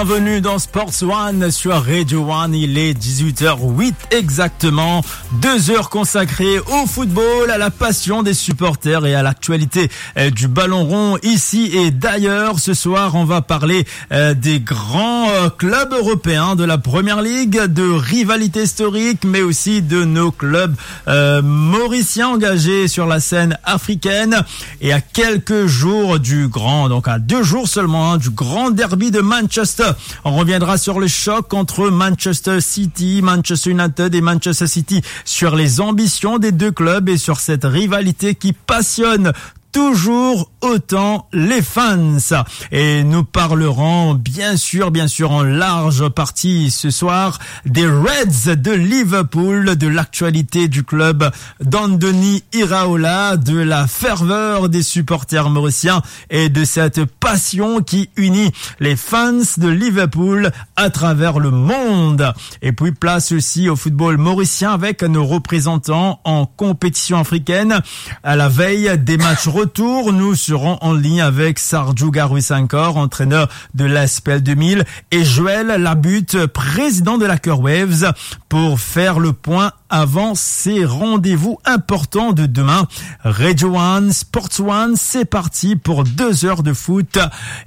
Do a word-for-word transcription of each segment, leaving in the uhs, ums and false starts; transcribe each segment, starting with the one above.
Bienvenue dans Sports One sur Radio One. Il est dix-huit heures huit exactement. Deux heures consacrées au football, à la passion des supporters et à l'actualité, euh, du ballon rond ici et d'ailleurs. Ce soir, on va parler, euh, des grands, euh, clubs européens de la Première Ligue, de rivalités historiques, mais aussi de nos clubs, euh, mauriciens engagés sur la scène africaine. Et à quelques jours du grand, donc à deux jours seulement, hein, du grand derby de Manchester, on reviendra sur le choc entre Manchester City, Manchester United et Manchester City, sur les ambitions des deux clubs et sur cette rivalité qui passionne toujours autant les fans. Et nous parlerons bien sûr, bien sûr en large partie ce soir des Reds de Liverpool, de l'actualité du club d'Andoni Iraola, de la ferveur des supporters mauriciens et de cette passion qui unit les fans de Liverpool à travers le monde. Et puis place aussi au football mauricien avec nos représentants en compétition africaine. À la veille des matchs retour, nous serons en ligne avec Sardjou Garusankor, entraîneur de l'A S P L deux mille, et Joël Labutte, président de la Kerwaves, pour faire le point avant ces rendez-vous importants de demain. Radio One, Sports One, c'est parti pour deux heures de foot.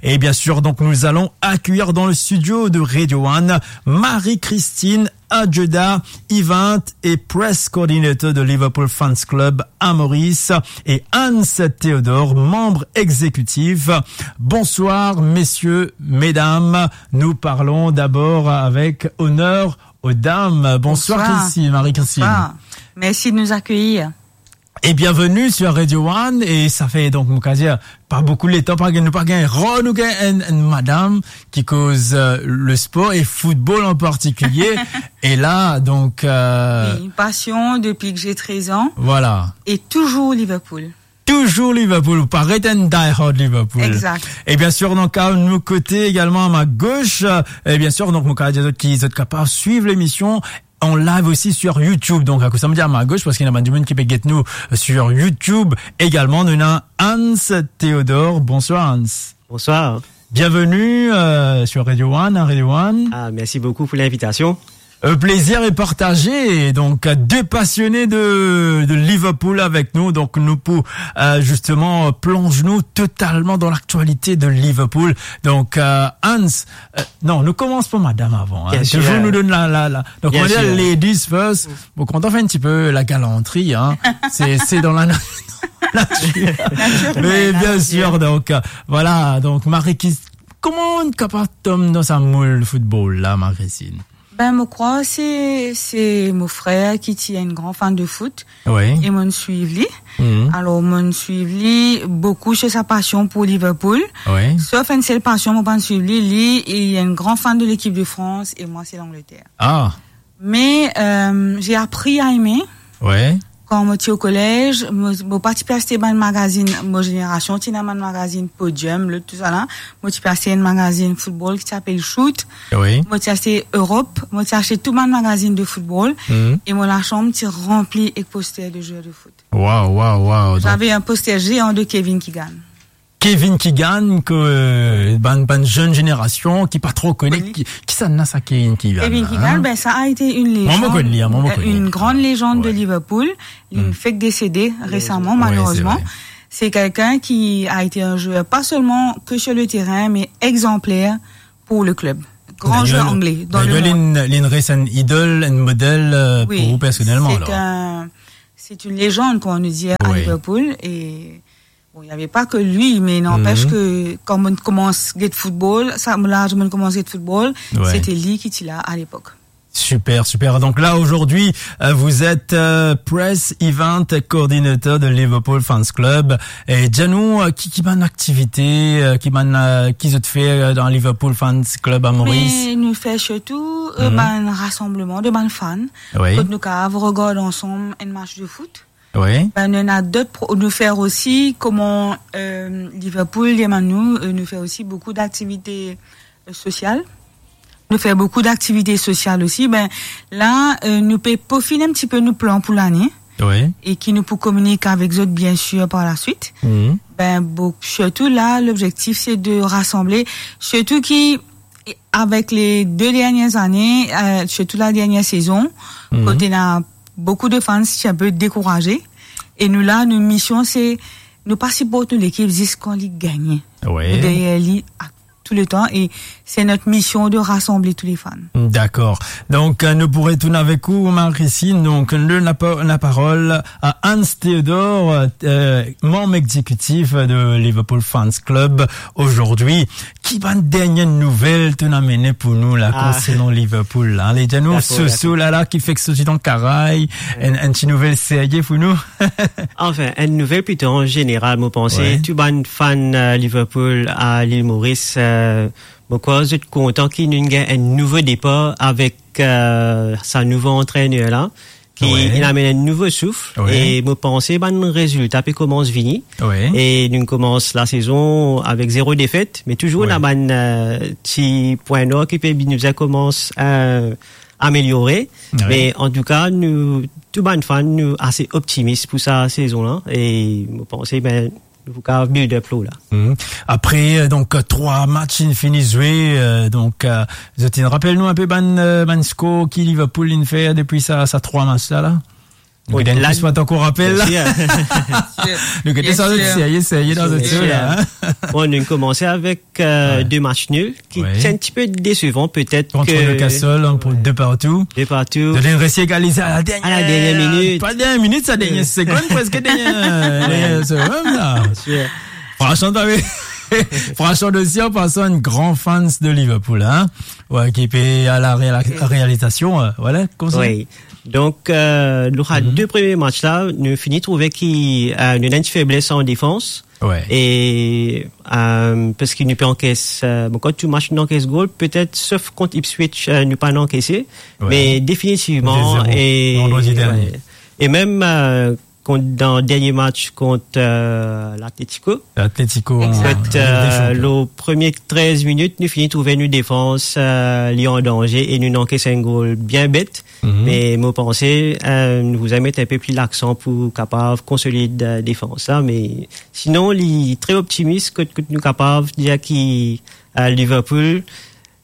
Et bien sûr, donc, nous allons accueillir dans le studio de Radio One Marie-Christine Adjeda, event et press coordinator de Liverpool Fans Club à Maurice, et Hans Théodore, membre exécutif. Bonsoir, messieurs, mesdames. Nous parlons d'abord avec honneur aux dames. Bonsoir, Christine, Marie-Christine. Bonsoir. Merci de nous accueillir. Et bienvenue sur Radio One. Et ça fait donc, mo kapav dir, pa boukou letan, pa gagn, nou pa gagn, rar nou gagn enn, enn madam ki koz, euh, le sport et football en particulier. Et là, donc, euh, Oui, une passion depuis que j'ai treize ans. Voilà. Et toujours Liverpool. Toujours Liverpool, ou paret enn die-hard Liverpool. Exact. Et bien sûr, donc, à nos côtés également, à ma gauche, euh, et bien sûr, donc, mo kapav dir zot ki zot kapav suiv l'émission en live aussi sur YouTube. Donc, akoz sa mo dir à ma gauche, parski ena bann dimoun ki pe get nou sur YouTube également. Nou ena Hans Théodore. Bonsoir, Hans. Bonsoir. Bienvenue, euh, sur Radio One, hein, Radio One. Ah, merci beaucoup pour l'invitation. Euh, plaisir est partagé. Donc, euh, deux passionnés de, de Liverpool avec nous. Donc, nou pou, euh, justement, euh, plonge nou totalement dans l'actualité de Liverpool. Donc, euh, Hans, euh, non, nou koumans par madam avan, hein. Bien sûr. Toujours nou donn la, la, la. Donc, Bien sûr. On va dire ladies first. Bon, kan nou fer enn tipe la galanterie, hein. C'est, c'est dans la na-, nature. Naturel, hein. Mais bien sûr, donc, euh, voilà. Donc, Marie, ki, kouma ou kapav tom dan sa moul football la, Marie-Christine? Ben, mo krwar se, se mo frer ki ti enn gran fan de foot. Oui. E mo'nn swiv li. Mhm. Alor, mo'nn swiv li boukou sur sa pasion pou Liverpool. Oui. Sof enn sel pasion, mo pa'nn swiv li, li, li enn gran fan de l'équipe de France et moi, c'est l'Angleterre. Ah. Mais, euh, j'ai appris à aimer. Ouais. Kan mo ti o kolez, mo, mo pa ti pe aste bann magazinn, mo zenerasion ti ena bann magazinn Podium, lot, tousala. Mo ti pe aste enn magazinn football ki ti apel Shoot. Oui. Mo ti aste Europe, mo ti aste tou bann magazinn de football. Mhm. E mo lasanm ti ranpli ek poster de joueurs de foot. Wow, wow, wow. Donc j'avais un poster géant de Kevin Keegan. Kevin Keegan, ke, euh, bann, bann zenn zenerasion ki pa tro kone, koni. Ki, kisannla sa Kevin Keegan la, hein? Kevin Keegan, ben, ça a été une légende, hein, une grande légende de Liverpool. Mwa, mo konn li, mwa, mo konn li. Ouais. Li fek desede resaman, malerezman. Ouais, c'est vrai. C'est quelqu'un qui a été un joueur pas seulement que sur le terrain, mais exemplaire pour le club. Grand joueur anglais dans le monde. Li, li res enn idol, enn model, euh, pour vous personnellement, alors. Oui, c'est un, c'est une légende, comme on nous dit à Liverpool, et bon, il y avait pas que lui, mais n'empêche que quand mo'nn koumans get football, sa, la mo'nn koumans get football, c'était li ki ti la à l'époque. Super, super. Donc là, aujourd'hui, euh, vous êtes, euh, Press Event Coordinator de Liverpool Fans Club. E dir nou, euh, ki, ki bann aktivite, euh, ki bann, euh, ki zot fer, euh, dan Liverpool Fans Club à Maurice? Mais nou fer sirtou, euh, bann rasanbleman de bann fan. Oui. Kot nou kapav regard ansanm enn match de foot. Oui. Ben, nou ena dot pro-, nou fer osi, kouma, euh, Liverpool demann nou, euh, nou fer osi boukou d'aktivite, euh, sosial. Nou fer boukou d'aktivite sosial osi. Ben, la, euh, nou pe pofinn enn tipe nou plan pou lane. Oui. E ki nou pou kominik avek zot, bien sûr, par la suite. Mhm. Ben, bon, sirtou la, lobzektif, se de rasanble, sirtou ki E avek le de dernie zane, euh, sirtou la dernie sezon, kot ena boukou de fans ti inpe dekouraze. E nou la, nou mision se, nou pa siport nou lekip zis kan li gagne. Nou deryer li a tou le tan e se not mision de rasanble tou le fan. Dakor. Donk, euh, nou pou retourn avek ou, Marie-Christine. Donk, nou done lapa-, laparol a Hans Theodor, euh, manm exekitif de Liverpool Fans Club ozordi. Ki bann dernie nouvel to'nn amene pou nou la, konsernan Liverpool la? Ale, dir nou, dakor, soso dakor. La, la, ki fek sorti dan karay, enn, enn ti nouvel serye pou nou? Anfin, enn nouvel plito an zeneral, mo panse, tou bann fan, euh, Liverpool a Lil Moris, euh, mo krwar zot kontan ki nou gagn enn nouvo depar avek, euh, sa nouvo antrener la, ki inn amenn enn nouvo souf, e mo panse bann rezilta pe koumans vini. E nou koumans lasezon avek zero defet, me touzour ena bann, euh, ti pwin nwar ki pe bizin koumans, euh, ameliore. Me antouka, nou, tou bann fan, nou ase optimis pou sa sezon la, e mo panse, ben, nou pou kapav build up lor la. Apre, euh, donk, euh, trwa match inn fini zwe, euh, donk, euh, zot inn rapel nou inpe bann, euh, bann skor ki Liverpool inn fer depi sa, sa trwa match la, la? Nou gagn la, plis, mo ankor rapel la. Bien sir. Nou gagn sa, serye, serye dan zot la, hein? Bon, nou koumans avek, euh, de match nul, ki ti enn tipe desevan, petet. Kont Newcastle, hein, pou de partou. De partou. Zot inn resi egalize a la dernie, a la dernie minit. Pa dernie minit, sa dernie segonn, preske dernie, dernie segonn la. Fransman, pa ve-, fransman osi, an pasan, enn gran fans de Liverpool, hein? Wi, ki pe a la reala-, realizasion, euh, vwala, koumsa. Wi. Donk, euh, nou, sa de premie match la, nou fini trouve ki, euh, nou ena enn ti febles an defans. E, euh, parski nou pe ankes, euh, bon, kan tou match nou ankes gol, petet, sof kont Ipswich, euh, nou pa'nn ankese. Me definitivman, e, e mem, euh, kont, dan dernie match kont, euh, Atletico. Atletico, an Ligue des Champions. Lor premie trez minit, nou fini trouve nou defans, euh, li an danze e nou ankes enn gol bien bet. Me mo panse, euh, nou bizin met inpe pli laksan pou kapav konsolid, euh, defans la. Me sinon, li tre optimis kot, kot nou kapav dir ki, euh, Liverpool,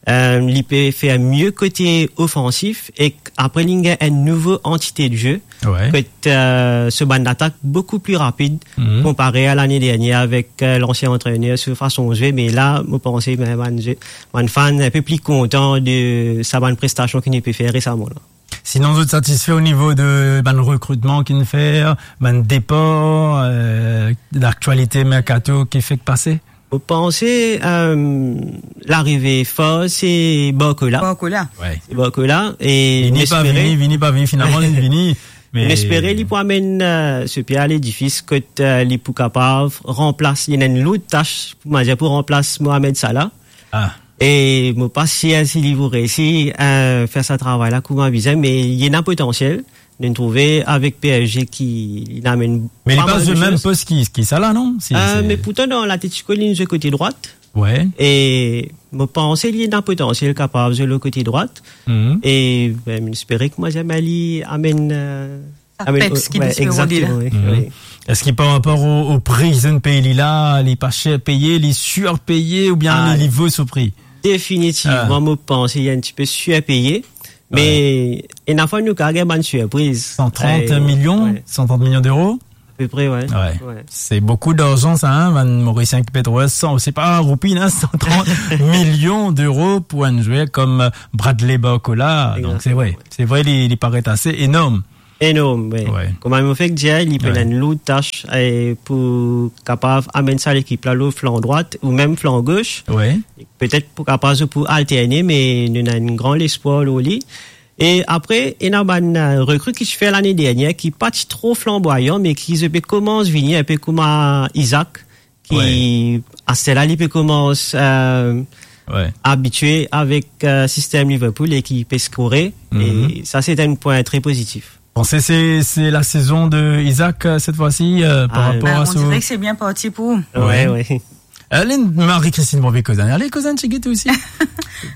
euh, li pe fer mie kote ofansif, e apre li gagn enn nouvo antite de ze, kot, euh, so bann latak boukou pli rapid konpare a lane dernie avek, euh, lansien antrener, so fason zwe. Me la, mo panse, ben, bann zwe-, bann fan inpe pli kontan de sa bann prestasion ki nou pe fer resaman la. Sinon, zot satisfe o nivo de bann rekritman ki'nn fer, bann depar, euh, laktialite merkato ki fek pase? Mo panse, euh, larive for, se Barcola. Barcola. Se Barcola, e vini pa vini, vini pa vini, finalman, li vini. Me nou espere li pou amenn, euh, so pie a ledifis kot, euh, li pou kapav ranplas, li ena enn lour tas, pou, mo dir, pou ranplas Mohamed Salah. E mo pa sir si li pou reysi, euh, fer sa travay la kouma bizin, me li ena potansiel. Nou trouve avek P S G ki li amenn pa mal de soz. Me li pa zwe mem pos ki, ki Salah, non? Si, euh, se me pourtan dan Atletico, li zwe kote drwat. E mo panse li ena potansiel kapav zwe lor kote drwat. E, ben, nou espere ki, mo dir, li amenn, euh, sa amenn peps ki pe rode la. Egzakteman, wi. Eski par rapor o, o pri zot peye li la, li pa ser peye, li sirpeye, oubien li, li vo so pri? Definitivman, mo panse li enn tipe sirpeye. Me ena fwa nou kapav gagn bann sirpriz. San trant milion, san trant milion d'euro? Apepre, wi. Se boukou larzan sa, hein, bann Morisien ki pe trouv sa, se pa roupi, hein, san trant milion d'euro pou enn zwer kom, euh, Bradley Barcola. Donk, se vre, se vre, li, li paret ase enorm. Enorm, wi. Kouma mo fek dir, li pena enn lour tas, e pou kapav amenn sa lekip la lor flan drwat ou mem flan gos. Petet pou kapav zot pou alterne, me nou ena enn gran lespwar lor li. E apre, ena bann, euh, rekri ki ti fer lane dernie, ki pa ti tro flanbwayan, me ki zot pe koumans vini, inpe kouma Isak, ki aster la, li pe koumans, euh, abitie avek, euh, sistem Liverpool e ki pe skore. E sa, se enn pwin tre pozitif. Bon, se, se, se lasezon de Isak, euh, set fwa si, euh, par rapor a... Ben, on dirait que c'est bien parti pour... Wi, wi. Ale, Marie-Christine, bon, pe koz enn, ale koz enn tigit osi.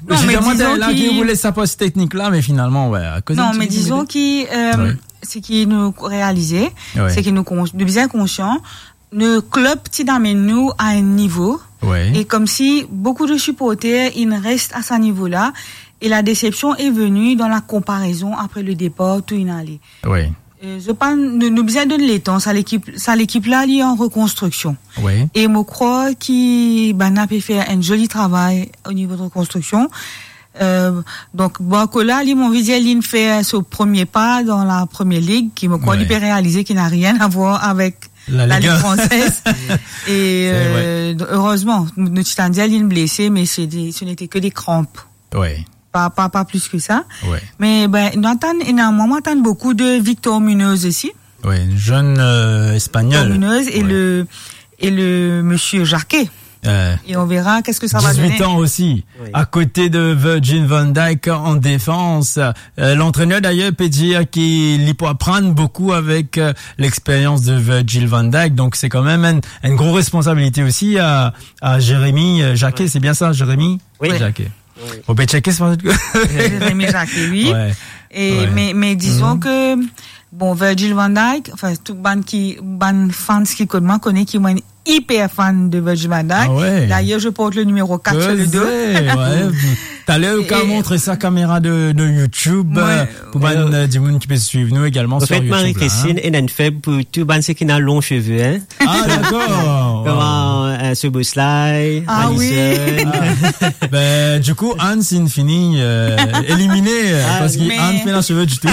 Non, me dizon ki, ki ou les sa pos teknik la, me finalman, wi, koz enn tigit. Non, me dizon ki, euh, seki nou realize, seki nou kons-, nou bizin konsian, nou klub ti amenn nou a enn nivo Ouais. Et comme si beaucoup de supporters, ils restent à ce niveau-là. Et la déception est venue dans la comparaison après le départ, tout il allait. Ouais. Euh, je pense, nous, nous besoin donner le temps, ça l'équipe, ça l'équipe-là, elle est en reconstruction. Ouais. Et je crois qu'il, ben, a pu faire un joli travail au niveau de reconstruction. Euh, donc, Barcola, li, mon vizier, li fait son premier pas dans la première ligue, qui, mon corps, Ouais. il peut réaliser qu'il n'a rien à voir avec La la Ligue Ligue un. française. Et, C'est vrai. euh, heureusement, nou ti tann dir, li blessé, mais c'est des, ce n'était que des crampes. Ouais. Pas, pas, pas plus que ça. Ouais. Mais, ben, nou atann, et normalement, on attend beaucoup de Victor Munoz aussi. Ouais, une jeune, euh, espagnole. Victor Munoz et Ouais. le, et le monsieur Jacquet. Euh, Et on verra qu'est-ce que ça va dix-huit donner. ans aussi, Oui. à côté de Virgil van Dijk en défense. Euh, l'entraîneur d'ailleurs peut dire qu'il peut apprendre beaucoup avec, euh, l'expérience de Virgil van Dijk. Donc c'est quand même une, une grosse responsabilité aussi à, à Jérémy, euh, Jacquet. Oui. C'est bien ça, Jérémy Oui. Jacquet. Oui. On peut checker ça. Jérémy Jacquet, oui. Ouais. Et, Ouais. mais, mais disons Mhm. que, bon, Virgil van Dijk, enfin, tout bann ki, bann fans ki konn mwa, konnen ki mwa hyper fan de Virgil van Dijk. Ah ouais. D'ailleurs, je porte le numéro quatre sur le dos. Kozé, ouais. Talèr, ou Et ka montre sa caméra de, de YouTube, Ouais. euh, pour bann, Euh, euh, dimoun ki pe suiv nou également en sur fait, YouTube, là, Marie-Christine, hein. Ena enn feb pou tou bann seki ena long cheve, hein. Ah, d'accord. Wow. Kouma, euh, Szoboszlai, Ah oui. Alisson. Ah. Ben, du coup, Hans, il finit, euh, éliminé, euh, Ah, parce qu'il mais a pas de cheveux du tout.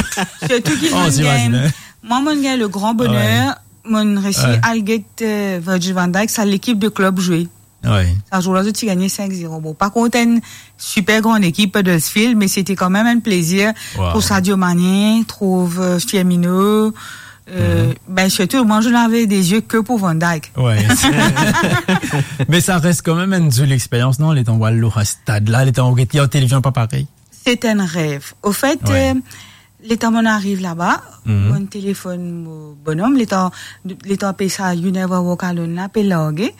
Surtout qu'il Oh, manque c'est vrai, quand même. c'est vrai. Moi, mon gars, le grand bonheur, Ouais. Mon resi Ouais. al get, euh, Virgil van Dijk, sa lekip de klub zwe. Ouais. Sa zour la, zot ti gagne cinq zéro. Bon, pa kont enn super gran lekip, Huddersfield, mais c'était quand même un plaisir Wow. pour Sadio Mané, trouve, euh, Firmino. Euh, Mhm. ben, surtout, moi, je n'avais des yeux que pour Van Dijk. Ouais. Mais ça reste quand même une jolie expérience, non ? Letan ou al lor stad la, letan ou get li an televizion, pa parey. C'est un rêve. Au fait, Ouais. euh, letan mo ariv laba, Mhm. mo telefonn mo bonom, letan, letan pe sa You Never Walk Alone la, pe large.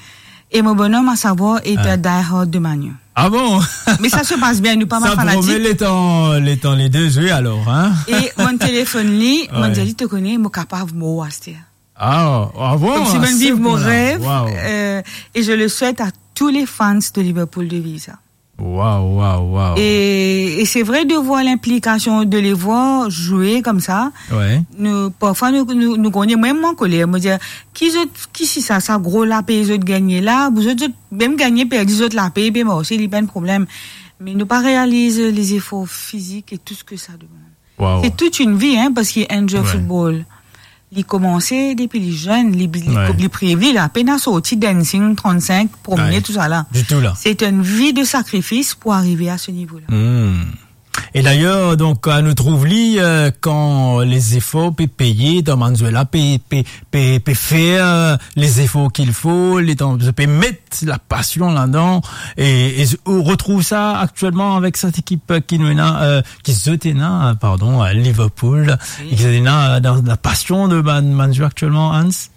E mo bonom, à savoir, est Ah. un die-hard de Man U. Ah bon ? Mais ça se passe bien, nou pa mal fanatik. Sa promet letan, letan le de zwe alor, hein ? E mo telefonn li, mo Ouais. dir li, to kone, mo kapav mor aster. Ah, ah bon, Comme si à mo ce viv mon point-là. Rêve, Wow. euh, et je le souhaite à tous les fans de Liverpool de vivre ça. Wow, wow, wow. Et, et c'est vrai de voir l'implication, de les voir jouer comme ça. Ouais. Nou, parfwa nou, nou, nou gagn, mwa, mwa koler, mo dir, ki zot, ki si sa, sa gro lape zot gagne la, zot, zot mem gagne, perdi zot lape, pe marse, li pa enn problem. Me nou pa realize les efforts physiques et tout ce que ça demande. Wow. C'est toute une vie, hein, parce qu'un joueur Ouais. football, li komanse depi li zenn, li, li, Ouais. li priv li, li apena sorti Dancing trente-cinq, premier, Ouais. tout ça là. Du tout, là. C'est une vie de sacrifice pour arriver à ce niveau-là. Hmm. E d'ailleurs, donk, euh, nou trouv li, euh, kan les efforts pe peye, dan bann zwer la pe, pe, pe, pe fer, euh, les efforts qu'il faut, letan, pe met la pasion ladan, e, e ou retrouv sa aktielman avek set ekip ki nou ena, euh, ki zot ena, euh, pardon, euh, Liverpool, Oui. e ki zot ena, euh, dan la pasion de bann, bann zwer aktielman, Hans ?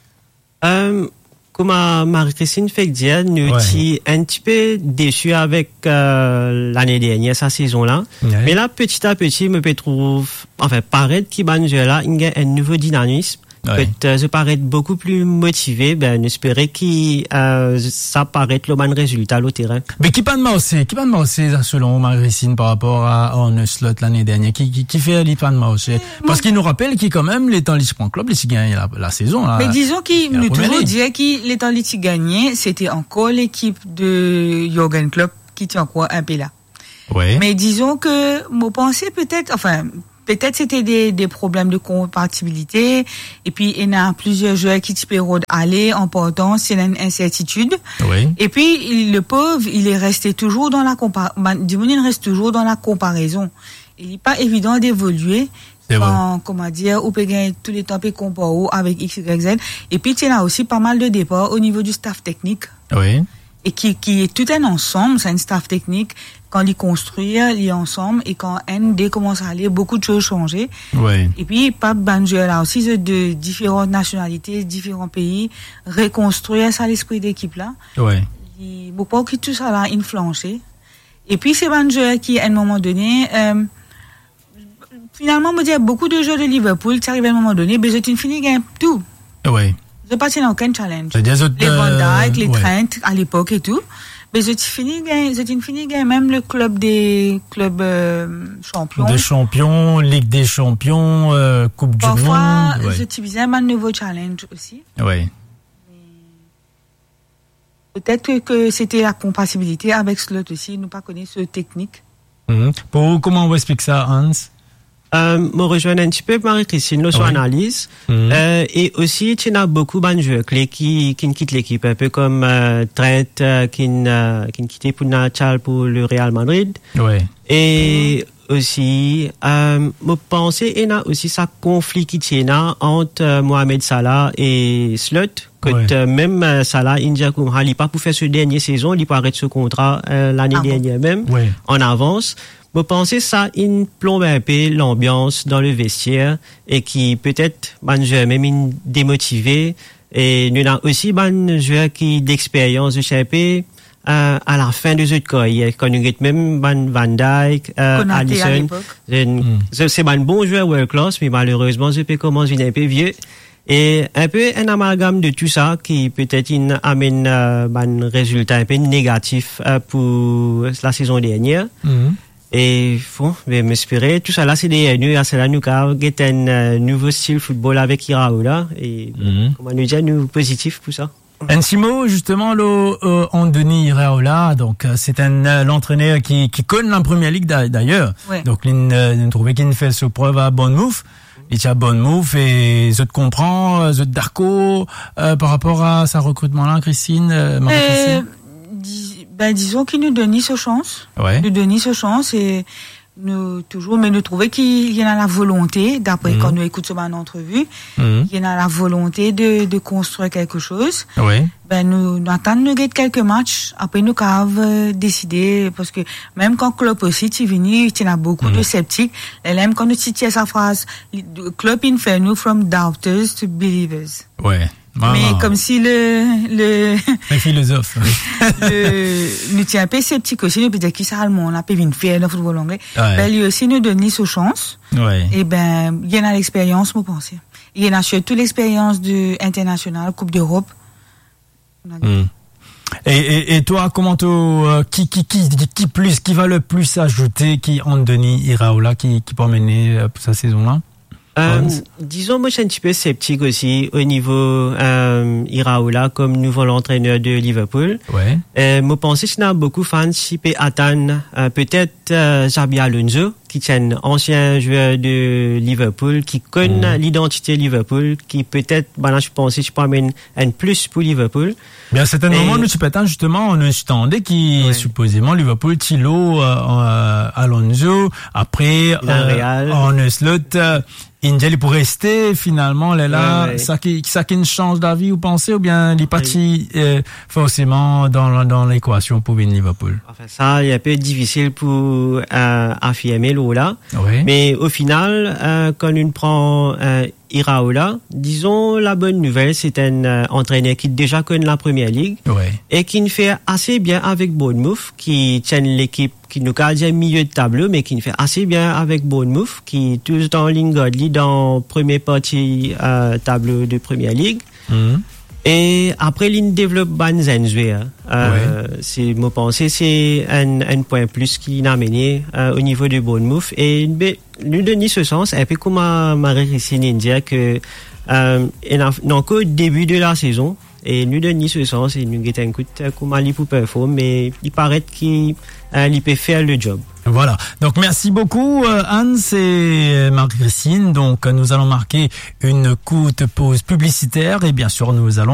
Euh, kouma Marie-Christine fek dir, nou Ouais. ti enn tipe desi avek, euh, lane dernier, sa sezon la. Ouais. Me la, peti a peti, mo pe trouv, anfin, paret ki bann zwer la, inn gagn enn nouvo dinamism. Ouais. Pet, euh, zot paret boukou pli motive, ben, nou espere ki, euh, sa paret lor bann rezilta lor terin. Me ki pa'nn marse, ki pa'nn marse, selon Marie-Christine, par rapor a Arne Slot lane dernier, ki, ki, ki fer li pa'nn marse ? Parski nou rapel ki kanmem, letan li ti pran klub, li ti gagn la, la sezon, la, Me dizon ki la nou première touzour ligue. Dir ki letan li ti gagne, c'était encore l'équipe de Jürgen Klopp ki ti ankor inpe la. Ouais. Me dizon ke, mo panse petet, anfin, petet c'était des, des problèmes de compatibilité, et puis ena plizier zwer ki ti pe rod ale, an partan, c'est une incertitude. Ouais. Et puis, il, le pauvre, il est resté toujours dans la compa-, ben, dimoun inn res toujours dans la comparaison. Il est pas évident d'évoluer C'est vrai. Kan, kouma dir, ou pe gagn touletan pe konpar ou avek X, Y, Z. Et puis, tu as aussi pas mal de départs au niveau du staff technique. Oui. Et qui, qui est tout un ensemble, c'est un staff technique. Kan li konstrir, li ansanm, e kan enn, de koumans ale, beaucoup de choses changé. Oui. Et puis, pa bann zwer la aussi, c'est de différentes nationalités, différents pays, rekonstrir sa lespri dekip la. Oui. Li, mo krwar ki tou sa la inn flanse. E pi, se bann zwer ki, à un moment donné, euh, finalement, mo dir, beaucoup de joueurs de Liverpool, ti ariv à un moment donné, be zot inn fini gagn tou. Oui. Zot pa ti ena okenn challenge. Savedir zot, Le Van Dijk, euh, le ouais. Trent, a lepok e tou. Me zot ti fini gagn, zot ti fini gagn mem le club de club, euh, champion. De champion, Ligue des Champions, euh, Coupe du Monde. Parfwa, ouais. Zot ti bizin bann nouvo challenge osi. Ouais. Petet ke, ke se ti la konpatibilite avek Slot osi, nou pa kone so teknik. Mhm. Pou ou, kouma ou explik sa, Hans? Euh, mo rezwenn enn tipe Marie-Christine lor so analiz. Mhm. Euh, e osi, ti ena boukou bann zwer kle ki, ki'nn kit lekip, inpe kom, euh, Trent, euh, ki'nn, euh, ki'nn kite pou al pou le Real Madrid. Ouais. E osi, euh, mo panse ena osi sa konfli ki ti ena ant, euh, Mohamed Salah e Slot. Kot, ouais. Euh, mem, euh, Salah inn dir koumsa li pa pou fer so dernie sezon, li pou aret so kontra, euh, lane dernie mem, ouais. An avans. Mo panse sa inn plonb inpe lanbians dan le vestier e ki petet bann zwer mem inn demotive. E nou ena osi bann zwer ki dexperyans, zot ti inpe, euh, a lafin de zot karyer. Kan nou get mem bann Van Dijk, euh, Konaté a Alisson, lepok. Se, se bann bon zwer world class, me malerezman, zot pe koumans vinn inpe vie. E inpe enn amalgam de tou sa ki petet inn amenn, euh, bann rezilta inpe negatif, euh, pou la sezon dernie. Mhm. E bon, be, mo espere tou sa la se dernie nou, asla nou kav get enn, euh, nouvo stil foutbol avek Iraola. E, mhm, kouma nou dir, nou pozitif pou sa. Enn ti mo, zisteman, lor, euh, Andoni Iraola. Donk, euh, se enn, euh, lantrener ki, ki konn la Première Ligue da-, dayer. Ouais. Donk, li, euh, nou trouve ki'nn fer so prev a Bournemouth. Li ti a Bournemouth e zot konpran, euh, zot dakor, euh, par rapor a sa rekritman la, Christine, euh, Marie-Christine? Euh, di-, ben, dizon ki nou donn li so sans. Ouais. Nou donn li so sans e nou touzour, me nou trouve ki li ena la volonte, dapre, mhm, kan nou ekout so bann antrevi, mhm, li ena la volonte de, de konstrir kelke soz. Oui. Ben, nou, nou atann nou get kelke match, apre nou kav, euh, deside, parski mem kan Klopp osi ti vini, ti ena boukou, mhm, de septik. E la mem kan nou ti tir sa fraz, li, Klopp inn fer nou from doubters to believers. Ouais. Me komsi le, le, le filozof. Le, nou ti inpe septik osi, nou pe dir ki sa Alman la pe vinn fer dan foutbol angle. Ouais. Ben, li osi nou donn li so sans. Ouais. E ben, li ena lexperyans, mo panse. Li ena sirtou lexperyans de internasional, Koup Lerop. Hmm. E, e, e twa, kouma to, euh, ki, ki, ki, ki, ki plis, ki valer plis azoute ki Andoni Iraola ki, ki pou amenn, euh, pou sa sezon la? Euh, Hans? Dizon, mo ti enn tipe septik osi o nivo, euh, Iraola kom nouvo lantrener de Liverpool. Ouais. Euh, mo panse si ena boukou fan ti pe atann, euh, petet, euh, Xabi Alonso, ki ti enn ansien zwer de Liverpool, ki konn, hmm, lidantite Liverpool, ki petet, bann la ti panse ti pou amenn enn plis pou Liverpool. Bien, serten moman, nou ti pe atann zisteman, nou ti tande ki, ouais, sipozeman Liverpool ti lor, euh, euh, Alonso, apre, euh, Villarreal. Arne Slot, euh, inn dir li pou reste, finalman, lerla, ouais, ouais, sa ki, sa ki'nn sanz lavi, ou panse, oubien li pa, oui, ti, euh, forseman dan, dan lekwasion pou vinn Liverpool? Anfin, sa, li inpe difisil pou, euh, afirme lor la. Oui. Me o final, euh, kan nou pran, euh, Iraola, dizon, labonn nouvel, se enn, euh, antrener ki deza konn la Première Ligue, ouais, e ki'nn fer ase bien avek Bournemouth, ki ti enn lekip ki nou kav dir milie de tablo, me ki'nn fer ase bien avek Bournemouth, ki toultan inn gard li dan premie parti, euh, tablo de Première Ligue. Mhm. E apre, li'nn devlop bann zenn zwer. Euh, ouais, se, mo panse se enn, enn pwin plis ki inn amene, euh, o nivo de Bournemouth. E be, nou donn li so sans, inpe kouma Marie-Christine inn dir ke, euh, ena, nou ankor debi de la sezon, e nou donn li so sans, e nou get enn kout, euh, kouma li pou perform, me li paret ki, euh, li pe fer le job. Voilà. Donc, merci beaucoup, euh, Hans et, euh, Marie-Christine. Donc, nous allons marquer une courte pause publicitaire et bien sûr, nous allons